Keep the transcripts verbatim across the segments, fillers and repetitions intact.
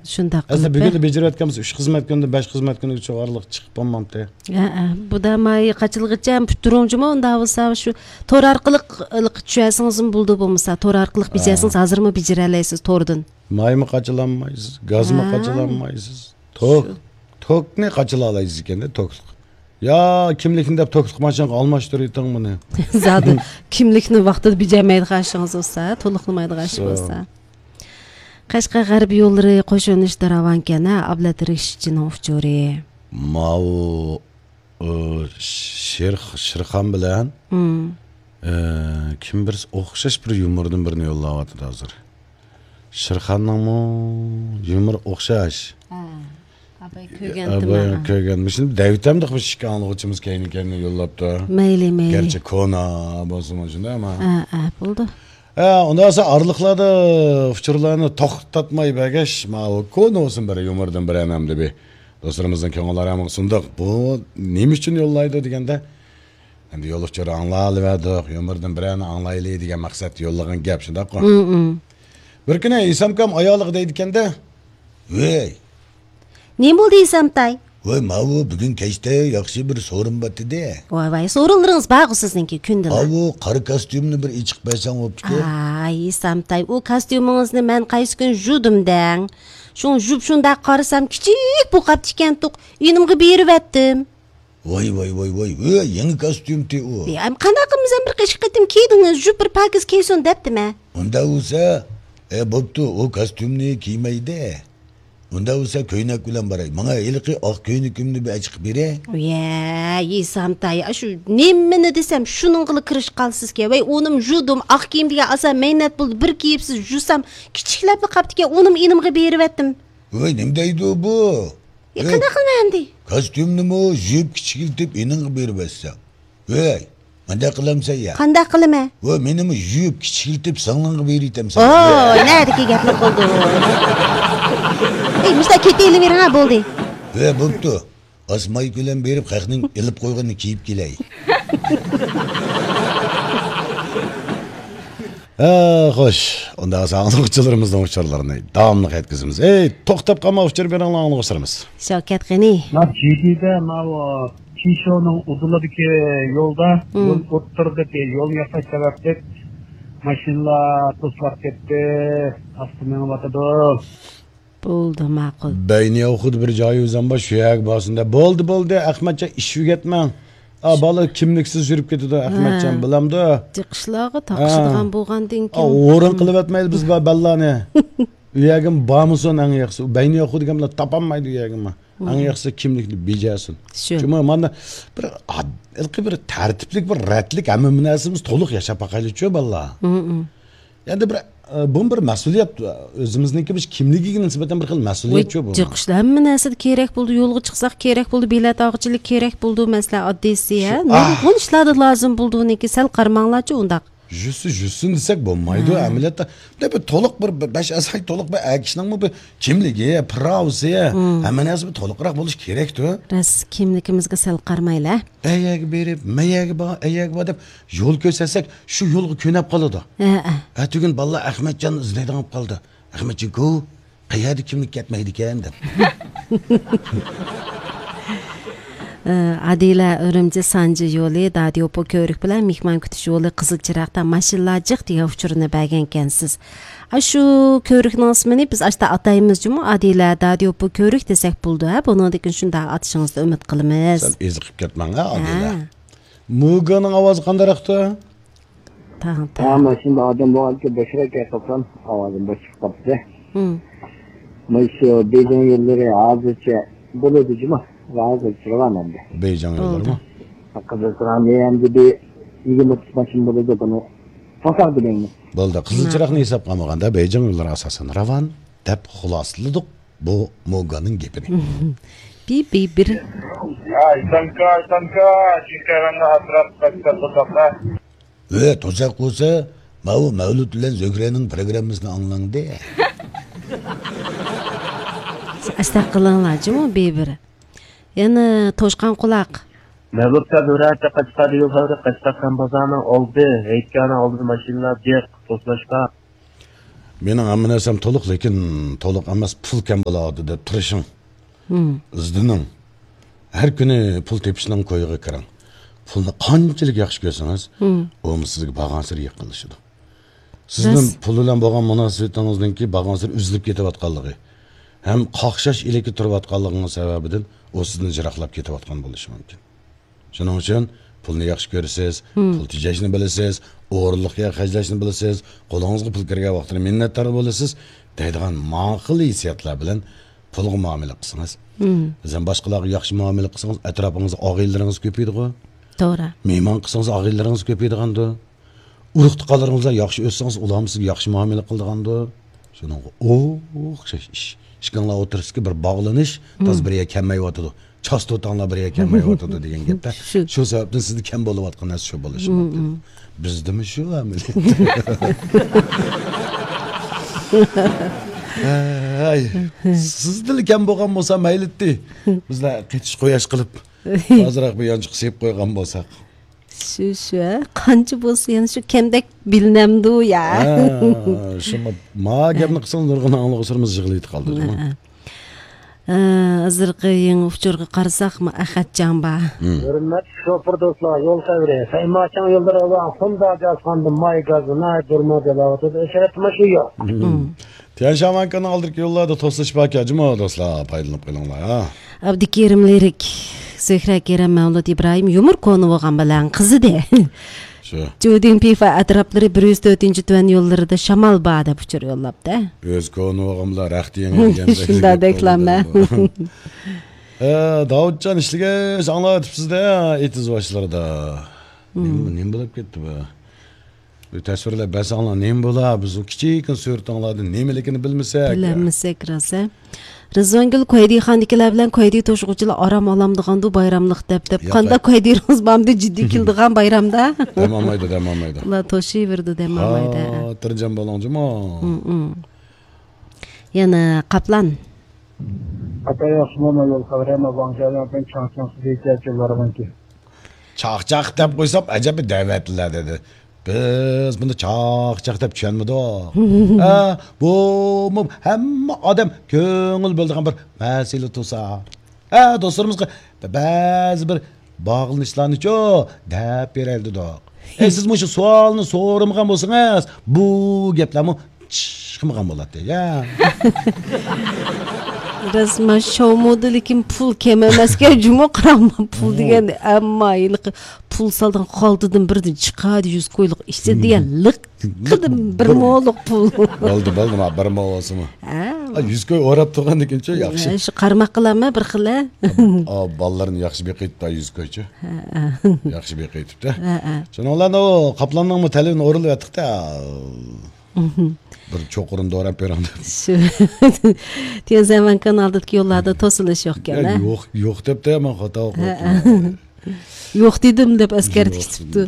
شۇنداق ئەسلى قىلىپ، بۈگۈندە بېجىرىۋەتكەنبىز، ئۈچ خىزمەت كۈنىدىن بەش خىزمەت كۈنىگىچە ئارىلىق چىقىپ بولمامتى. ھەئە، بۇ دەماي قاچىلىغىچە پۈتتۈرۈڭ جۇمۇ، ئۇنداق بولسا شۇ تور ئارقىلىق چۈشۈرسىڭىزمۇ بولىدۇ، بولمىسا تور ئارقىلىق ھە. بېجىرسىڭىز ھازىرمۇ بېجىرەلەيسىز توردىن. مايمۇ قاچىلانمايسىز، گازمۇ ھە. قاچىلانمايسىز. توك، شۇ. توكنى قاچىلالايسىز ئىكەندە، توكلۇق. يا كىملىكنى دەپ توكلۇق ماشىنىغا ئالماشتۇرۇۋېتىڭ بۇنى. زادى كىملىكنى ۋاقتىدا بېجەرمەيدىغان ئىشىڭىز بولسا، تولۇقلىمايدىغان ئىش شۇ. بولسا. قەشقەر غەربىي يوللىرى قوش يۆنىلىشتە راۋانكەن ھە، ئابلەت رىشىتچىنىڭ ئۇچۇرى. ماۋۇ، ئۇ، شېر-، شېرخان بىلەن، مم. ئە، كىم بىرسى ئوخشاش بىر يۇمۇردىن بىرنى يوللاۋاتىدۇ ھازىر. شېرخاننىڭمۇ يۇمۇرى ئوخشاش. ھە. ئاباي كۆرگەنتىم. ئاباي كۆرگەن. مۇشۇنى دەۋېتەمدۇق بىز ئىككى ئاڭلىغۇچىمىز كەينى-كەينىدىن يوللاپتۇ. مەيلى، مەيلى. گەرچە كونا بولسىمۇ شۇنداق ئەمما. ھە، ھە، بولدى. ھە، ئۇنداق بولسا ئارىلىقلاردا ئۇچۇرلارنى توختاتماي بەرگەچ، ماۋۇ كونا بولسۇن بىر يۇمۇردىن بىر ئەنەمدە بىر دوستلىرىمىزنىڭ كۆڭۈللىرى ھەم سۇندۇق. بۇ نېمە ئۈچۈن يوللايدۇ دېگەندە، ئەمدى يول ئۇچۇرى ئاڭلاۋەردۇق، يۇمۇردىن بىرەرنى ئاڭلايلى دېگەن مەقسەتتە يوللىغان گەپ، شۇنداققۇ؟ مم، مم. بىر كۈنى ئىسامكام ئايالىغا دەيدىكەندە، ۋەي! نېمە بولدى ئىسامتاي؟ ۋەي، ماۋۇ بۈگۈن كەچتە ياخشى بىر سورۇن بار ئىدى. ۋاي، ۋاي، سورۇنلىرىڭىز بارغۇ سىزنىڭكى كۈندىلا. ئاۋۇ قارا كاستيۇمنى بىر ئېچىق بەرسەڭ بوپتىكەن. ئاي، ئىسامتاي، ئۇ كاستيۇمىڭىزنى مەن قايسى كۈن يۇدۇم دەڭ؟ شۇڭا يۇپ شۇنداق قارىسام، كىچىك بولۇپ قاپتىكەنتۇق. ئىنىمغا بېرىۋەتتىم. ۋاي، ۋاي، ۋاي، ۋاي، ۋاي، يېڭى كاستيۇمتى ئۇ. ئەم، قانداق قىلىمىز، ئەم، بىر قېشىق قېتىم كىيدىڭىز، يۇپ بىر پاكىز كىيسۇن دەپتىمە. ئۇنداق بولسا، ئە، بوپتۇ، ئۇ كاستيۇمنى كىيمەيدۇ. ئۇنداق بولسا كۆينەك بىلەن باراي. ماڭا ھېلىقى ئاق كۆينىكىمنى بىر ئېچىقىپ بېرە. ۋەي، ئىسامتاي، ئاشۇ نېمىنى دېسەم، شۇنىڭغىلا كىرىشىپ قالىسىزكەن. ۋەي، ئۇنىم يۇدۇم، ئاق كىيىم دېگەن ئاسان مەينەت بولدى، بىر كىيىپسىز، يۇسام، كىچىكلەپلا قاپتىكەن، ئۇنىم ئىنىمغا بېرىۋەتتىم. ۋاي، نېمە دەيدۇ بۇ؟ يا، ۋاي، قانداق قىلىمەن ئەمدى؟ كاستيۇمنىمۇ يۇيۇپ كىچىكلىتىپ ئېنىڭغا بېرىۋەتسەڭ. ۋاي، مۇنداق قىلامسەن يا؟ قانداق قىلىمەن؟ ۋاي، مېنىمۇ يۇيۇپ كىچىكلىتىپ سىڭلىڭغا بېرىۋېتەمسەن. ئوو، ۋاي. نەدىكى گەپلەر بولدى؟ ئەي، مۇشۇنداق كېتىۋېرىڭ ھە، بولدى. ۋاي، بوپتۇ. ئاز مايكا بىلەن بېرىپ خەقنىڭ ئېلىپ قويغىنىنى كىيىپ كېلەي. ھە، خوش. ئۇنداق بولسا ئاڭلىغۇچىلىرىمىزنىڭ ئۇچۇرلىرىنى داۋاملىق يەتكۈزىمىز. ئەي، توختاپ قالما، ئۇچۇر بېرىڭلار ئاڭلىغۇچىلىرىمىز. شەۋكەت غېنى. مانا جىدىدە ماۋۇ پىشونىڭ ئۇدۇلىدىكى يولدا، مم. يول ئوتتۇرىدىكى يول ياساش سەۋەبلىك ماشىنىلار توسۇلۇپ كەتتى، ئاستا مېڭىۋاتىدۇ. بولدى، ماقۇل. بەينىياۋخۇدا بىر جايى ئۆزەم بار، شۇ يەرگە بارسۇن دە. بولدى، بولدى، ئەخمەتجان، ئىش ئۆگەتمەڭ. ئا، بالا كىملىكسىز يۈرۈپ كېتىدۇ، ئەخمەتجان، ھە. بىلەمدۇ؟ جىقىشلارغا ھە. تاقىشىدىغان بولغاندىن ئا، كېيىن. ئورۇن قىلىۋەتمەيلى بىز بار بالىلارنى. ئۇ يەرگىمۇ بارمىسۇن ئەڭ ياخشىسى. ئۇ بەينىياخۇ دېگەن بىلەن تاپالمايدۇ ئۇ يەرگىمۇ. ئەڭ ياخشىسى كىملىكنى بېجەرسۇن. شۇ. شۇڭا مانا بىر ئاد-، ھېلىقى بىر تەرتىپلىك، بىر رەتلىك ھەممە نەرسىمىز تولۇق ياشاپ باقايلىچۇ، بالىلار. ئەمدى بىر، ئە، بۇمۇ بىر مەسئۇلىيەت، ئۆزىمىزنىڭكى بىر كىملىكىگە نىسبەتەن بىر خىل مەسئۇلىيەتچۇ بۇ. جىقىشلار ھەممە نەرسىدە كېرەك بولىدۇ، يولغا چىقساق كېرەك بولىدۇ، بېلەت ئالغۇچىلىك كېرەك بولىدۇ، مەسىلەن، ئاددىيسى، ھە، شۇ، ئاھ. نۇرغۇن ئىشلاردا لازىم بولىدۇ ئۇنىڭكى، سەل قارىماڭلارچۇ ئۇنداق. يۈزسىز يۈزسىن دېسەك بولمايدۇ، ھە. ئەمەلىيەتتە. بۇنداق بىر تولۇق بىر، بىر بەش ئەزالىق تولۇق بىر ئەر كىشىنىڭمۇ بىر كىملىكى، پىراۋىسى، ھەممە نەرسە بىر تولۇقراق بولۇشى كېرەكتۇ. راست، كىملىكىمىزگە سەل قارىمايلى. ئەي يەرگە بېرىپ، مەي يەرگە بار، ئەي يەرگە بار دەپ يول كۆرسەتسەك، شۇ يولغا كۆنەپ قالىدۇ. ھە، ھە. ئەتىگۈن بالىلار ئەخمەتجاننى ئىزدەيدىغان بولۇپ قالىدۇ. ئەخمەتجان گو، قەيەردە كىملىك كەتمەيدىكەن دەپ. ئە، ئادىلە ئۈرۈمچى سانجى يولى، دادىيوپو كۆۋرۈك بىلەن مېھمان كۈتۈش يولى قىزىل چىراغدا ماشىنىلار جىق دېگەن ئۇچۇرنى بەرگەنكەنسىز. ئاشۇ كۆۋرۈكنىڭ ئىسمىنى بىز ئاشتا ئاتايمىز جۇمۇ، ئادىلە دادىيوپو كۆۋرۈك دېسەك بولىدۇ ھە، بۇنىڭدىن كېيىن شۇنداق ئاتىشىڭىزنى ئۈمىد قىلىمىز. سەل ئېزىقىپ كەتمەڭ ھە، ئادىلە. ھە. موگانىڭ ئاۋازى قانداقراقتۇ؟ تاڭ، ھە، تاڭ. ماشىنىدا ئادەم بولغانكەن بوشراق گەپ قىلسام، ئاۋازىم بوش چىقىپ قاپتۇ. مم. مانا شۇ بېيجىڭ يوللىرى ھازىرچە بولىدۇ جۇمۇ. ھازىرچە راۋان ئەمدى. بېيجىڭ يوللىرىمۇ؟ بولدى. قىزىل چىراغنى ئەمدى بىر يىگىرمە ئوتتۇز ماشىنا بولىدۇ بۇنى. توساق دېمەيمەن. بولدى. قىزىل چىراغنى ھېسابقا ئالمىغاندا بېيجىڭ يوللىرى ئاساسەن راۋان دەپ خۇلاسىلىدۇق بۇ موگاننىڭ گېپىنى. بىر، بىر، بىر. ئاي، سانكا، سانكا، چۈشكەنلەرنى ئاسراپ، قاچىلاپ توساقلار. ۋە توساق بولسا، ماۋۇ مەۋلۇت بىلەن زۆھرەنىڭ پروگراممىسىنى ئاڭلاڭدى. ئەستەغپۇرۇللا جۇمۇ بىر. يەنە توشقان قۇلاق. مەۋلۇت سەن زۆھرە قاچقا دېگەن خەۋەر، قاچقا خان بازارنىڭ ئالدى، ھېيتگاھنىڭ ئالدىدا ماشىنىلار جىق توسلاشقان. مېنىڭ ھەممە نەرسەم تولۇق، لېكىن تولۇق ئەمەس، پۇل كەم بولۇۋاتىدۇ دەپ تىرىشىڭ. ئىزدىنىڭ. ھەر كۈنى پۇل تېپىشنىڭ كويىغا كىرىڭ. پۇلنى قانچىلىك ياخشى كۆرسىڭىز، ئۇمۇ سىزگە بارغانسېرى يېقىنلىشىدۇ. سىزنىڭ پۇل بىلەن بولغان مۇناسىۋىتىڭىزنىڭكى بارغانسېرى ئۈزۈلۈپ كېتىۋاتقانلىقى ھەم قاقشاش ئىلكى تۇرۇۋاتقانلىقىنىڭ سەۋەبىدىن ئۇ سىزدىن يىراقلاپ كېتىۋاتقان بولۇشى مۇمكىن. شۇنىڭ ئۈچۈن پۇلنى ياخشى كۆرىسىز، پۇل تېجەشنى بىلىسىز، ئورۇنلۇق يەرگە خەجلەشنى بىلىسىز، قولىڭىزغا پۇل كىرگەن ۋاقتىدا مىننەتدار بولىسىز دەيدىغان ماقۇل ھېسسىياتلار بىلەن پۇلغا مۇئامىلە قىلسىڭىز، بىزدىن باشقىلارغا ياخشى مۇئامىلە قىلسىڭىز، ئەتراپىڭىزدا ئاغىنىلىرىڭىز كۆپىيىدىغۇ. توغرا. مېھمان قىلسىڭىز، ئاغىنىلىرىڭىز كۆپىيىدىغاندۇ. ئۇرۇق-تۇغقانلىرىڭىز بىلەن ياخشى ئۆتسىڭىز، ئۇلارمۇ سىزگە ياخشى مۇئامىلە قىلىدىغاندۇ. شۇنىڭغا ئوخشاش ئىش. ئىككىڭلار ئوتتۇرىسىدىكى بىر باغلىنىش، تازا بىر يەرگە كەلمەيۋاتىدۇ. چاستوتاڭلار بىر يەرگە كەلمەيۋاتىدۇ دېگەن گەپتە. شۇ. شۇ سەۋەبتىن سىزدە كەم بولۇۋاتقان نەرسە شۇ بولۇشى مۇمكىن. بىزدىمۇ شۇ ئەمەلىيەتتە. ھەي، سىزدىلا كەم بولغان بولسا مەيلىتتى. بىزلەر قېتىش قۇياش قىلىپ، ئازراق بۇ يانچۇققا سېلىپ قويغان بولساق. شۇ، شۇ، ھە؟ قانچە بولسا يەنە شۇ كەمدەك بىلىنەمدۇ يا؟ ھە، شۇڭا ما گەپنى قىلسىڭىز نۇرغۇن ئاڭلىغۇچىلىرىمىز يىغلىۋېتىپ قالىدۇ، جۇمۇ. ھە، ھە. ئە، ھازىرقى يېڭى ئۇچۇرغا قارىساقمۇ، ئەخەتجان بار. ھۆرمەتلىك شوپۇر دوستلار، يول خەۋىرى. سەيماچاڭ يوللىرى ئاۋا خوندا جاسقاندىن ماي گازى ناھايىتى بۇرما دەۋاتىدۇ. ئەشرەتمۇ شۇ يوق. تيەنشان ۋەنكىنىڭ ئالدىدىكى يوللاردا توسۇلۇش باركەن، جۇمۇ دوستلار، پايدىلىنىپ قېلىڭلار، ھە. ئابدۇكېرىم لىرىك، زۆھرە كېرەم، مەۋلۇت ئىبراھىم، يۇمۇر كونا بولغان بىلەن قىزىدى. شۇ. جۇدىڭ پىفا ئەتراپلىرى بىر يۈز تۆتىنچى تۈەن يوللىرىدا شامال بار دەپ ئۇچۇر يوللاپتۇ. ئۆزى كونا بولغان بىلەن رەختى يېڭى دېگەندەك شۇنداق گەپ دەكلەمە. ھە، داۋۇتجان ئىشلىگەچ ئاڭلاۋېتىپسىز-دە، ئېتىز باشلىرىدا. نېمە، نېمە بولۇپ كەتتى بۇ؟ بىر تەسۋىرلەپ بەرسەڭلار نېمە بولا؟ بىز ئۇ كىچىككىنە سۈرىتىڭلاردىن نېمىلىكىنى بىلمىسەك. بىلەلمىسەك راست، ھە؟ رىزۋانگۈل، كويدىخاندىكىلەر بىلەن كويدى توشۇغۇچىلار ئارام ئالامدىغاندۇ بايراملىق دەپ دەپ. ياق، قانداق، كويدىرىڭىز بارمىدى جىددىي كېلىدىغان بايرامدا؟ دەم ئالمايدۇ، دەم ئالمايدۇ. ئۇلار توشۇۋېرىدۇ، دەم ئالمايدۇ، ھە. خاتىرجەم بولۇڭ جۇمۇ. يەنە قاپلان. ئاتا ياخشىمۇ مانا يول خەۋىرى، مانا ۋاڭ جياۋياڭ بىلەن چاڭ چاڭ سىزىچە يوللارغىنكى. چاقچاق دەپ قويسام ئەجەب بىر دەۋەتلەر دېدى. بىز بۇنى چاقچاق دەپ چۈشەنمىدۇق. ھە، بۇمۇ ھەممە ئادەم كۆڭۈل بۆلىدىغان بىر مەسىلە تۇرسا. ھە، دوستلىرىمىزغا بەزى بىر باغلىنىشلارنىچۇ دەپ بېرەيلى دېدۇق. ئەي، سىز مۇشۇ سوئالنى سورىمىغان بولسىڭىز، بۇ گەپلەرمۇ چىقمىغان بولاتتى، يا. راست، ما شومۇدا لېكىن پۇل كەم ئەمەسكەن، جۇمۇ قاراڭما، پۇل دېگەن، ئەمما ھېلىقى پۇل سالدىغان خالتىدىن بىردىن چىقاردى، يۈز كويلۇق ئىشسىز دېگەن لىق قىدىم بىر مولۇق پۇل. بولدى، بولدى، ما بىر مو بولسىمۇ. ھە. ئا، يۈز كوي ئوراپ تۇرغاندىكىنچۇ ياخشى. ھە، شۇ قارىماققىلا ما بىر خىلى. ئا، بالىلارنى ياخشى بېقىۋېتىپتۇ، يۈز كويچۇ. ھە، ھە. ياخشى بېقىۋېتىپتۇ. ھە، ھە. شۇنىڭ بىلەن ئۇ قاپلاننىڭمۇ تەلىپىنى ئورۇنلىۋەتتۇق-تە. بىر چوقۇرۇن دوراپ بېرىڭ دەپ. شۇ. تيەنشان ۋەنكىنىڭ ئالدىدىكى يوللاردا توسۇلۇش يوقكەن، يا، ھە؟ يوق، يوق دەپتۇ، مەن خاتا ئوقۇپ ھە، ھە. كېتىپتۇ. يوق دېدىم دەپ ئەسكەرتىپ كېتىپتۇ.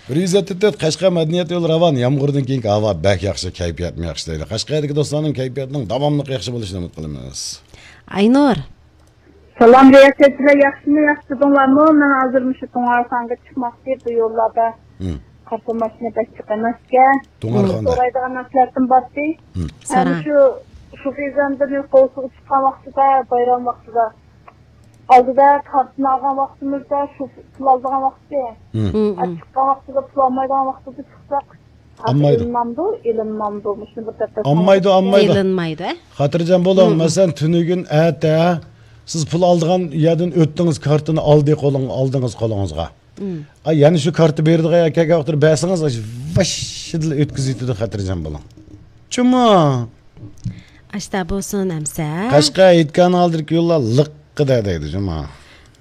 بىر يۈز يەتتە تۆت، قەشقەر مەدەنىيەت يولى راۋان. يامغۇردىن كېيىنكى ھاۋا بەك ياخشى، كەيپىياتمۇ ياخشى دەيدۇ. قەشقەردىكى دوستلارنىڭ كەيپىياتىنىڭ داۋاملىق ياخشى بولۇشىنى ئۈمىد قىلىمىز. ئاينۇر. سالام رىياسەتچىلەر، ياخشىمۇ، ياخشى تۇردۇڭلارمۇ؟ مەن ھازىر مۇشۇ تۇڭئارخانغا چىقماقچى، بۇ يوللاردا. ھىم. قارىسام ماشىنا بەك جىق ئەمەسكەن. تۇڭئارخاندا. سورايدىغان نەرسىلەردىن بارتى. ھىم. ھەم سورا. شۇ، شۇ خېزەندىنى قوۋسىغا چىققان ۋاقتىدا، بايرام ۋاقتىدا. ئالدىدا كارتىنى ئالغان ۋاقتىمىزدا، شۇ پۇل ئالىدىغان ۋاقتى. ھىم. ھىم، ھىم. چىققان ۋاقتىدا، پۇل ئالمايدىغان ۋاقتىدا چىقساق. ئالمايدۇ. ئېلىنامدۇ، ئېلىنمامدۇ؟ مۇشۇنى بىر دەپ بەرسەڭلار. ئالمايدۇ، ئالمايدۇ. ئېلىنمايدۇ، ھە؟ خاتىرجەم بولۇڭ. ھىم. مەسىلەن، تۈنۈگۈن، ئەتە سىز پۇل ئالىدىغان يەردىن ئۆتتىڭىز، كارتىنى ئالدى قولۇڭ-، ئالدىڭىز قولىڭىزغا. ھىم. ئا، يەنە شۇ كارتا بېرىدىغان يەرگە كەلگەن ۋاقتىدا بەرسىڭىز، ۋاششىدىلا ئۆتكۈزۈۋېتىدۇ، خاتىرجەم بولۇڭ. چۈمۇ؟ ئاشتا بولسۇن ئەمسە. قەشقەر ھېيتگاھنىڭ ئالدىدىكى يوللار لىققىدە دەيدۇ جۇمۇ.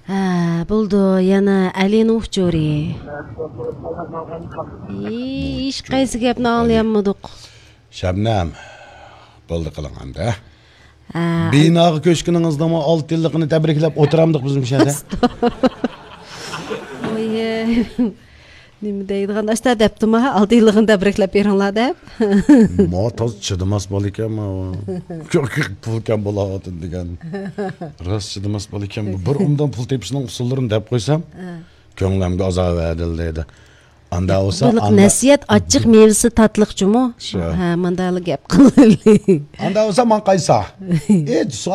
ھە، بولدى، يەنە ئەلىنىڭ ئۇچۇرى. ھېچقايسى گەپنى ئاڭلىيالمىدۇق. شەبنەم، بولدى قىلىڭ ئەمدى. ھە. بىناغا كۆچكىنىڭىزنىڭمۇ ئالتە يىللىقىنى تەبرىكلەپ ئولتۇرامدۇق بىز مۇشۇ يەردە. ۋوي. نېمە دەيدىغان، ئاشتا دەپتىما، ئالتە يىللىقىنى تەبرىكلەپ بېرىڭلار دەپ. ما تازا چىدىماس بالا ئىكەن، ما. پۇل كەم بولاۋاتىدۇ دېگەن. راست چىدىماس بالا ئىكەن. بۇ بىر ئومدان پۇل تېپىشنىڭ ئۇسۇللىرىنى دەپ قويسام، ھە. كۆڭلۈمگە ئازار بەردىلە دەيدۇ. ئاندا بولسا، بولۇق ئاندا نەسىھەت، ئاچچىق مېۋىسى تاتلىق جۇمۇ. شۇ. ھە، ماندالا گەپ قىلىلى. ئاندا بولسا، ماڭا قايسا؟ ئى،